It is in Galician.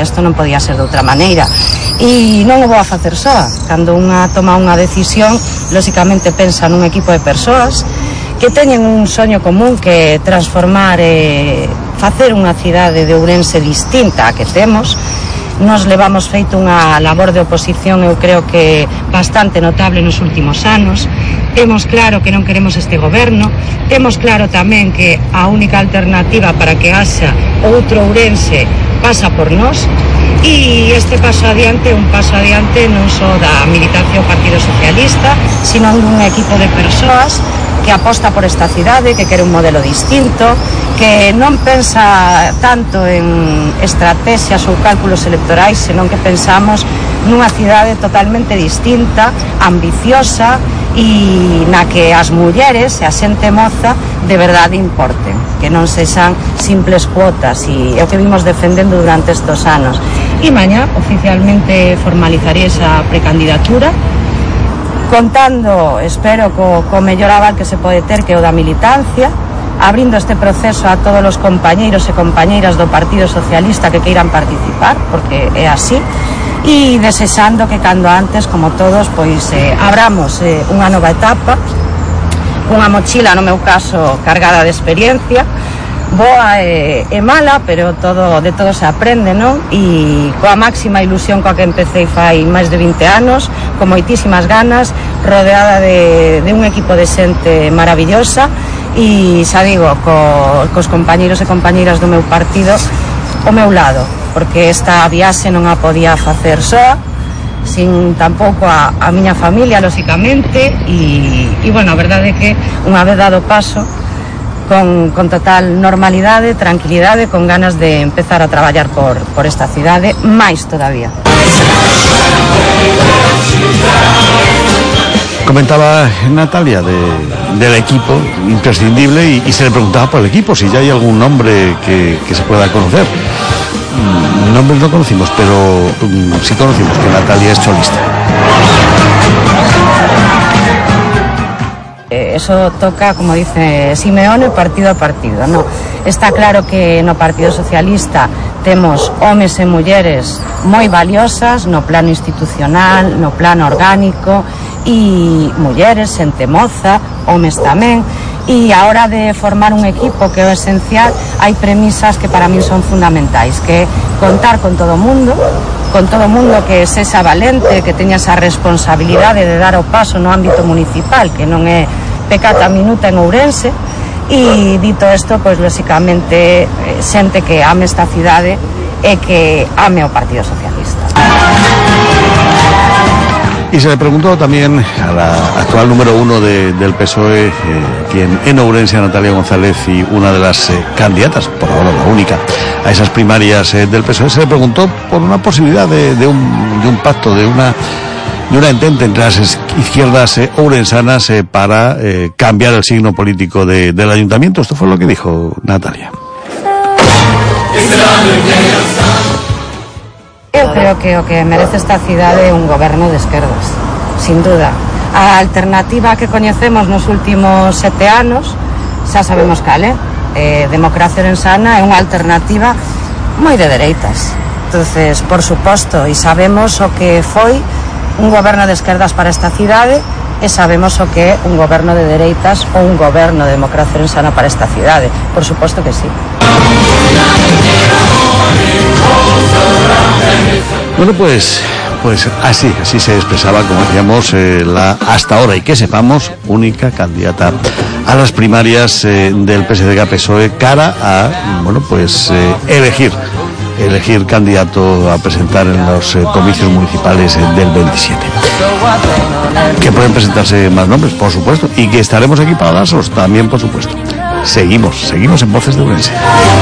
isto non podía ser de outra maneira. E non o vou a facer soa. Cando unha toma unha decisión, lóxicamente pensa nun equipo de persoas que teñen un soño común, que transformar facer unha cidade de Ourense distinta a que temos. Nos levamos feito unha labor de oposición, eu creo que bastante notable nos últimos anos. Temos claro que non queremos este goberno, temos claro tamén que a única alternativa para que haxa outro Ourense pasa por nós, e este paso adiante é un paso adiante non só da militancia do Partido Socialista, sino dun equipo de persoas que aposta por esta cidade, que quere un modelo distinto, que non pensa tanto en estrategias ou cálculos electorais, senón que pensamos nunha cidade totalmente distinta, ambiciosa, e na que as mulleres e a xente moza de verdade importen, que non sexan simples cuotas, e é o que vimos defendendo durante estes anos. E mañá oficialmente formalizaré esa precandidatura, contando, espero, co mellor aval que se pode ter, que é o da militancia, abrindo este proceso a todos os compañeiros e compañeiras do Partido Socialista que queiran participar, porque é así, e desexando que cando antes, como todos, pois abramos unha nova etapa, unha mochila, no meu caso, cargada de experiencia, boa e mala, pero de todo se aprende, non? E coa máxima ilusión coa que empecé fai máis de 20 anos, con moitísimas ganas, rodeada de un equipo de xente maravillosa, e xa digo, cos compañeiros e compañeiras do meu partido ao meu lado, porque esta viaxe non a podía facer soa, sin tampouco a miña familia, lóxicamente, e bueno, a verdade é que unha vez dado paso, con total normalidade, tranquilidade, con ganas de empezar a traballar por esta cidade, máis todavía. Comentaba Natalia del equipo imprescindible y se le preguntaba por el equipo si ya hay algún nombre que se pueda conocer. Nombres no conocimos, pero sí conocimos que Natalia es cholista. Eso toca, como dice Simeone, partido a partido, no? Está claro que no Partido Socialista temos homes e mulleres moi valiosas no plano institucional, no plano orgánico, e mulleres, xente moza, homes tamén, e a hora de formar un equipo, que é o esencial, hai premisas que para min son fundamentais, que é contar con todo o mundo que sexa valente, que teña esa responsabilidade de dar o paso no ámbito municipal, que non é pecata minuta en Ourense, e dito isto, pois lóxicamente xente que ame esta cidade e que ame o Partido Socialista. Y se le preguntó también a la actual número 1 del PSOE, quien en Ourense, a Natalia González, y una de las candidatas, por ahora la única, a esas primarias del PSOE, se le preguntó por una posibilidad de un pacto, de una entente entre las izquierdas ourensanas para cambiar el signo político del ayuntamiento. Esto fue lo que dijo Natalia. Eu creo que o que merece esta cidade é un goberno de esquerdas, sin duda. A alternativa que coñecemos nos últimos 7 anos, xa sabemos cal é. Democracia Orensana é unha alternativa moi de dereitas. Entonces, por suposto, e sabemos o que foi un goberno de esquerdas para esta cidade, e sabemos o que é un goberno de dereitas ou un goberno de Democracia Orensana para esta cidade. Por suposto que sí. Bueno, pues así se expresaba, como decíamos, la hasta ahora, y que sepamos, única candidata a las primarias del PSDG-PSOE cara a, bueno, pues elegir candidato a presentar en los comicios municipales del 27. Que pueden presentarse más nombres, por supuesto, y que estaremos aquí para dárselos también, por supuesto. Seguimos en Voces de Ourense.